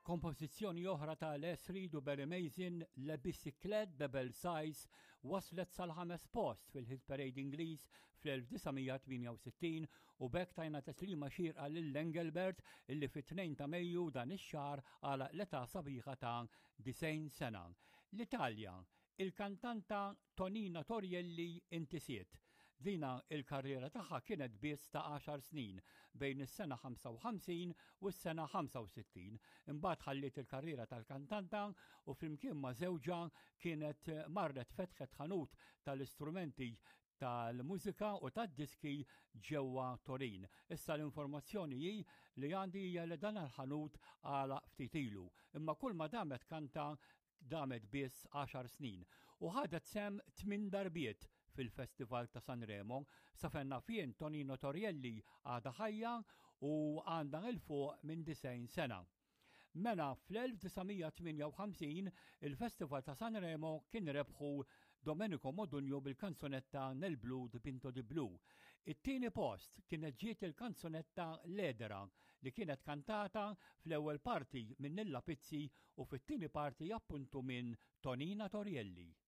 Kompożizzjoni oħra ta' Les Reed u Barry Mazin, Le Bicyclette de Belsize, waslet sal-ħames post fil-Hit Parade Ingliż fl-1968 u b'hekk tajna teslima xierqa lil Engelbert illi fit-2 ta' Mejju dan ix-xahar għalaq l-età sabiħa ta' 90 sena. L-Italja, Il-kantanta Tonina Torrielli intisiet. Dina il-karriera tagħha kienet biss ta' għaxar snin, bejn is-sena 55 u s-sena 65. Imbagħad ħalliet il-karriera tal-kantanta u flimkien ma' żewġha kienet marret fetħet ħanut tal-istrumenti tal-mużika u tad-diski ġewwa Torin. Issa l-informazzjoni hi li għandi hija li dan il-ħanut għalaq ftit ilu. Imma kull ma damet kanta damet biss għaxar snin u ħadet sehem tminn darbiet fil-Festival ta' Sanremo. Sa fejn naf jien Tonino Torrielli għadha ħajja u għandha 'l fuq minn 90 sena. Mela fl-1958 il-Festival ta' Sanremo kien rebħu Domenico Modugno bil-kanzunetta Nel blu dipinto di blu. It-tieni post kienet ġiet il-kanzunetta L'Edera li kienet kantata fl-ewwel parti minn Nilla Pizzi u fit-tieni parti appuntu minn Tonina Torrielli.